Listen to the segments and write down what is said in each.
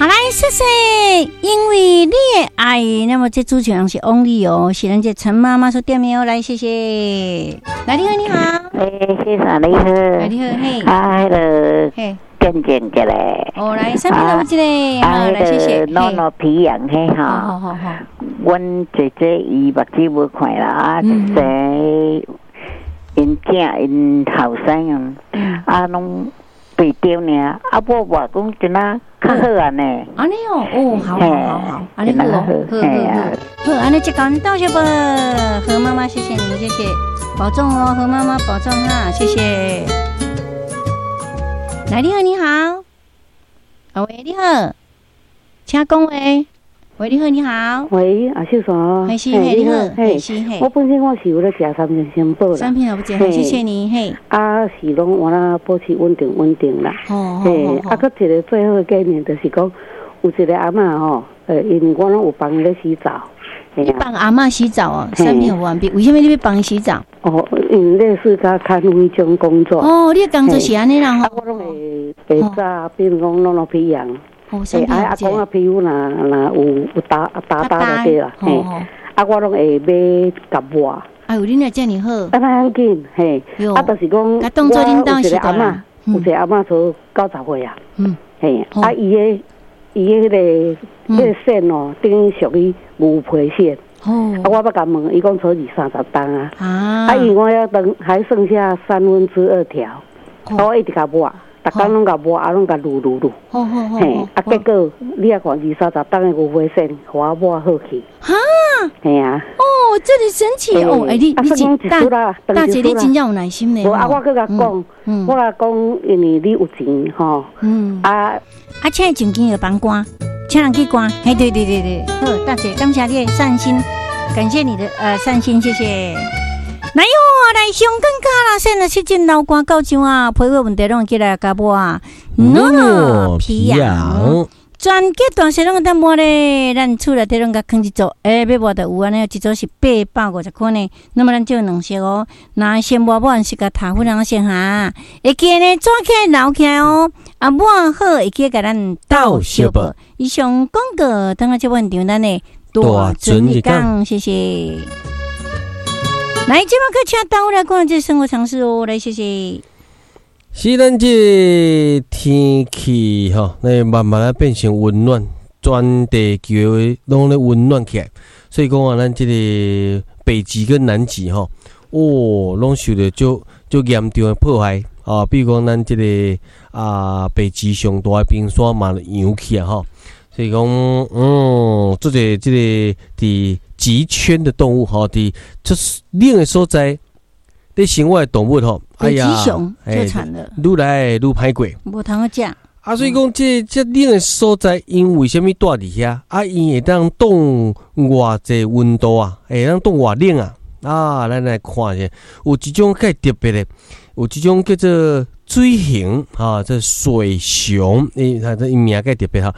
好來，謝謝，因為你的愛，那麼這主持人是翁麗哦，是咱這陳媽媽所點的哦，來，謝謝。來，你好，你好。欸，先生你好。來，你好，嘿。啊，彼个見證一下。哦，來，啥物有一个？好，來，謝謝。諾諾皮樣彼吼。好好好。阮姐姐伊目睭無看啦，啊，生𪜶囝𪜶後生啊，啊，攏袂著爾，啊，抹抹講真啊較好啊呢。按呢哦，哦，好好好好，按呢好，好好好，好，按呢這個道謝不？何媽媽，謝謝你，謝謝，保重哦，何媽媽保重哈，謝謝。來，你好，你好，啊喂，你好，請講話。喂，你好，你好。喂，阿秀莎。嘿，是，嘿，你好，嘿，是，嘿。我本身我是有咧食三星三寶啦。三片也不食，謝謝你，嘿。啊，是攏我那保持穩定穩定啦。哦嘿，啊，閣一個最好的概念就是講，有一個阿嬤吼，因為我攏有幫伊咧洗澡。你幫阿嬤洗澡哦，三片完畢，為啥物你欲幫伊洗澡？哦，因為類似佮看護彼種工作。哦，你的工作是按呢啦吼。啊，我攏會會早，比如講攏攏皮癢。欸，啊啊，講啊，皮膚若若有焦焦焦就對啦，嘿，啊，我攏會買共抹。哎喲，你若遮爾好。啊，較要緊，嘿，啊，就是講，我有一個阿嬤，有一個阿嬤差90歲啊，嘿，啊，伊的彼個癬哦，等於屬於牛皮癬。哦。啊，我捌共問，伊講差二三十冬啊。啊，因為我猶當還剩下2/3條，我一直共抹。逐工攏共抹，啊，攏共擼擼擼。嘿，啊，結果你也看二三十冬的牛皮癬，予我抹好去。哈？嘿啊。哦，這麼神奇哦！欸，你真大大姐，你真正有耐心呢。無啊，我閣共講，我共講，因為你有錢吼。啊啊，請伊上肩就幫關，請人去關。嘿，對對對對，好，大姐，感謝你的善心，感謝你的善心，謝謝。來喲，來上更加啦！現在是真流汗到這啊，皮膚問題攏會起來共抹啊。諾諾皮癢，全家大細攏會當抹咧。咱厝內底攏共囥一組，欸，欲抹就有按呢，一組是850塊呢。那麼咱就兩色哦，若先抹抹是共頭粉仔先哈，會記呢抓起來留起來哦。啊，抹好會記共咱鬥相報。以上廣告，等下這現場咱的大尊日講，謝謝。來，這馬閣請導來講這生活常識哦，來，謝謝。是咱這天氣吼，那慢慢仔變成溫暖，全地球攏咧溫暖起來，所以講啊，咱這個北極跟南極吼，哦，攏受著足足嚴重的破壞啊。比如講，咱這個啊，北極上大的冰山嘛融去啊吼，所以講，做者這個佇極圈的動物吼，佇這冷的所在，佇生活的動物吼，哎呀，北極熊就慘了，愈來愈歹過，無通好食。啊，所以講，這冷的所在，𪜶為啥物蹛佇遐？啊，𪜶會當凍偌濟溫度啊？會當凍偌冷啊？啊，咱來看一下，有一種較特別的，有一種叫做水熊，哈，這水熊，伊它這名較特別哈。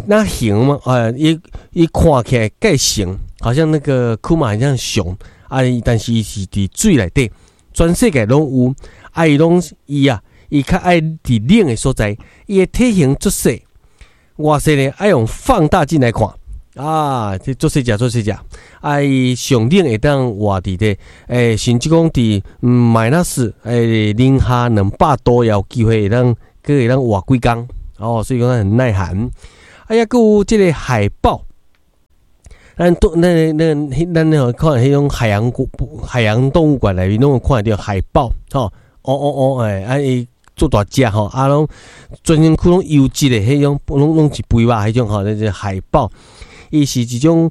那熊嘛，啊，伊伊看起來蓋熊，好像那個庫馬很像熊，啊，但是伊是佇水內底，全世界攏有，啊，伊攏伊啊，伊較愛佇冷的所在，伊的體型足細，偌細呢？愛用放大鏡來看，啊，這足細隻，足細隻，啊，伊上冷會當活佇咧，欸，甚至講佇 minus 欸零下200度也有機會會當，閣會當活幾工，哦，所以講很耐寒。啊，猶閣有這個海豹，咱都那那咱那看彼種海洋動物館內面攏有看著海豹，吼，哦哦哦，欸，啊伊足大隻吼，啊攏全身軀攏油脂的，彼種攏攏是肥肉彼種吼，那個海豹，伊是一種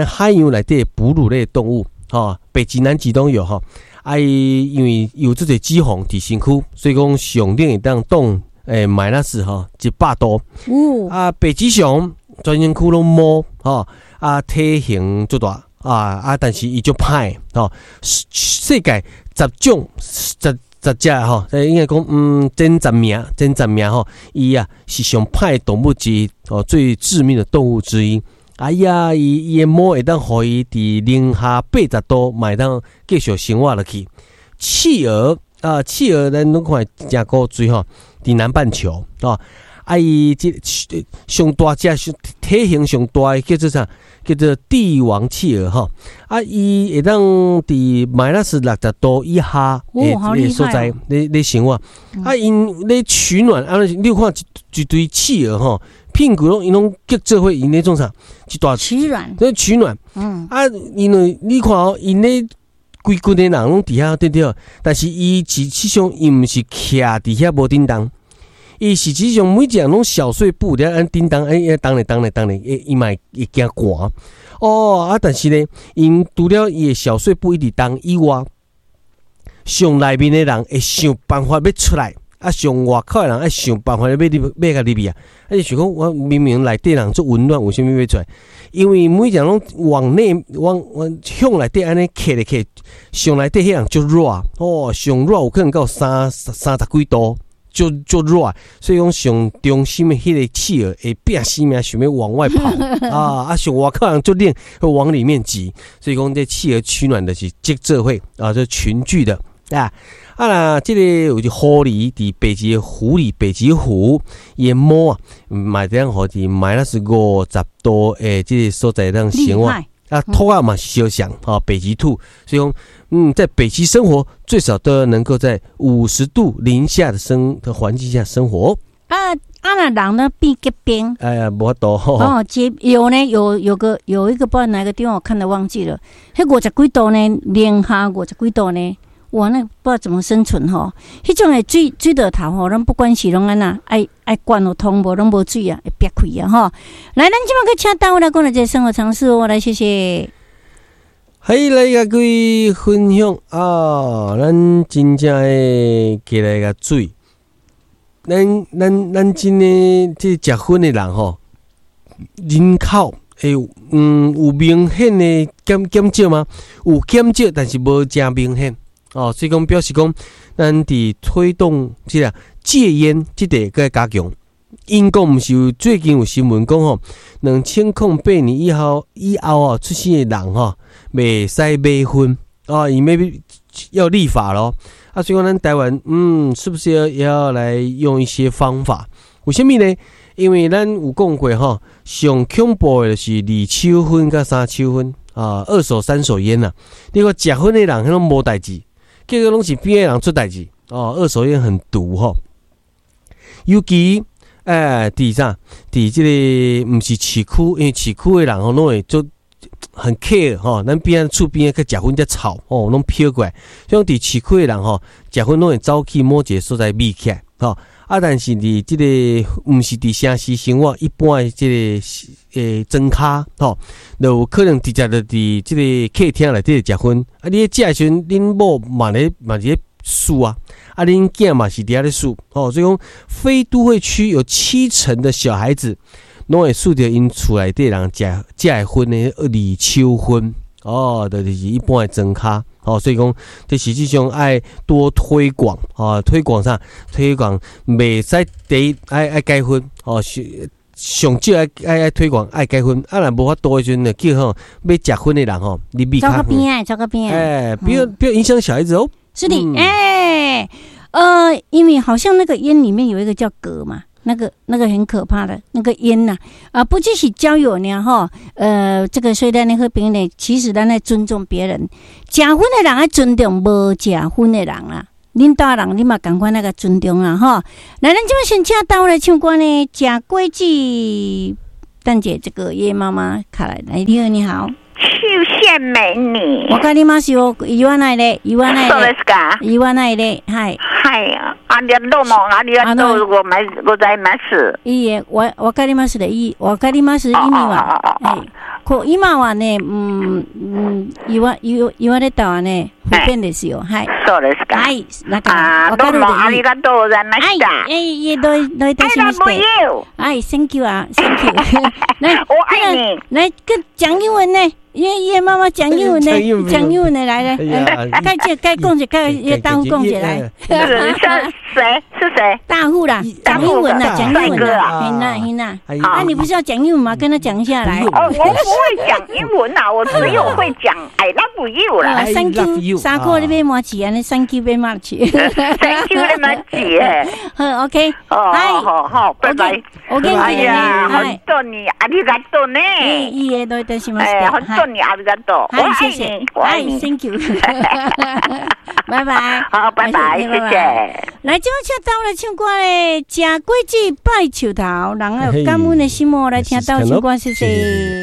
海洋內底哺乳類動物，吼，北極、南極都有吼。啊，伊因為有這個脂肪佇身軀，所以講上冷會當凍欸，minus 吼100度。啊，北極熊全身軀攏毛吼，啊，體型足大啊啊，但是伊足歹吼。世界十種十十隻吼，應該講前10名，前十名吼，伊啊是上歹的動物之一哦，最致命的動物之一。哎呀，伊伊的毛會當予伊佇零下80度，嘛會當繼續生活落去。企鵝啊，企鵝咱攏看誠古錐吼，佇南半球哦。啊，伊這上大隻、體型上大的叫做啥？叫做帝王企鵝吼。啊，伊會當佇 minus 60度以下的所在咧生活。啊，𪜶咧取暖啊，你有看一堆企鵝吼，屁股攏𪜶攏結做伙，𪜶咧創啥？一大取暖，咧取暖。啊，因為你看哦，𪜶咧規群的人攏佇遐對對，但是伊實際上伊毋是徛佇遐無振動。伊實際上每一個人攏小碎步佇遐按叮當，哎，動咧動咧動咧，伊嘛會驚寒。哦，啊，但是呢，𪜶除了伊的小碎步一直動以外，上內面的人會想辦法欲出來，啊，上外口的人愛想辦法欲入欲共入去啊。啊，就想講我明明內底人足溫暖，為啥物欲出來？因為每一個人攏往內往向內底按呢客咧客，上內底彼人足熱，哦，上熱有可能到30幾度。足足熱，所以講上中心的彼個企鵝會拼死命想欲往外跑啊！啊，上外口人足冷，會往裡面擠，所以講這企鵝取暖的是集做伙啊，這群聚的啊。啊啦，這個有一狐狸佇北極狐狸、北極狐伊的毛啊，嘛會當予佇 minus 50度的這個所在當生活。啊，兔仔嘛是相像啊，北極兔，所以講，在北極生活最少都要能夠在50度零下的生的環境下生活。啊啊，若人呢變結冰？哎呀，無法度。哦，結有呢，有一個不知道哪個地方我看到忘記了，彼50幾度呢，零下50幾度呢，哇，那不知道怎麼生存吼。彼種的水道頭吼，攏不管是攏按怎，愛愛灌予通無攏無水啊，會煏開啊吼。來，咱這擺去請單位來講一個生活常識哦，來謝謝。嘿，來共各位分享啊，咱真正的起來共注意。咱真的這食薰的人吼，人口會有明顯的減少嗎？有減少，但是無誠明顯。哦，所以講表示講，咱佇推動這個戒菸，這個閣愛加強。英國毋是有最近有新聞講吼，2008年以後哦出生的人吼，袂使買薰哦，伊欲要立法咯。啊，所以講咱台灣，是不是要來用一些方法？為啥物呢？因為咱有講過吼，上恐怖的就是二手薰佮三手薰啊，二手、三手菸呐。你看食薰的人，彼攏無代誌。結果攏是邊仔人出代誌哦，二手菸很毒吼，尤其哎，佇啥？佇這個毋是市區，因為市區的人吼攏會做很 care 吼，咱邊仔厝邊仔去食薰遮臭吼，攏飄過來。所以佇市區的人吼，食薰攏會走去某一個所在秘起來吼。啊，但是佇這個毋是佇城市生活，一般的這個莊跤吼，就有可能直接就佇這個客廳內底食薰。啊，你咧食的時陣，恁某嘛咧數啊，啊，恁囝嘛是佇遐咧數吼。所以講，非都會區有70%的小孩子攏會嗅著𪜶厝內底人食食的薰的二手薰哦，就是一般的莊跤。哦，所以講，這實際上愛多推廣啊，推廣啥？推廣袂使第一愛戒薰哦，上少愛推廣愛戒薰。啊，若無法度的時陣，就叫吼欲食薰的人吼，你避開。走較邊仔，走較邊仔。哎，不要影響小孩子哦。是的，哎，因為好像那個菸裡面有一個叫鉻嘛。那個很可怕的那個菸吶，啊，不只是交友呢吼，這個雖然你好朋友呢，其實咱愛尊重別人，食薰的人愛尊重無食薰的人啦。恁兜人你嘛仝款那個尊重啦吼。來，咱這擺先請到來唱歌呢，食果子，等下這個葉媽媽卡來，來，你好，你好。秋線美女。わかりますよ。言わないで、言わないそうですか。言わないで、はい。はい。ありどうもありがとうございます。いいえ、わかりますで、いい、わかります意味は。はい。こう今はね、言われたはね、不便ですよ。はい。そうですか。はい。だから、どうもありがとうございました。はい。いえ、どういたしまして。はい、Thank you 啊，Thank you。來，我愛你。來，跟講英文呢。葉媽媽講英文呢，講英文的來來，該講該講者，該大戶講者來。是誰？是誰？大戶啦，講英文啦，講英文啦。嘿娜嘿娜，那你不是要講英文嗎？跟他講一下來。哦，我會講英文啊，我只有會講 I love you 啦。 Thank you，衫褲你欲麻糬，按呢 Thank you 欲麻糬。 Thank you 你麻糬。好，OK。哦，好好，拜拜。 OK。哎呀，本当にありがとうね。いいえ、どういたしまして。哎，本当にありがとう。我愛你，我愛你。 Thank you。拜拜。好，拜拜，謝謝。來，這擺請鬥來唱歌咧，食果子拜樹頭，人愛有感恩的心哦，來聽鬥唱歌，謝謝。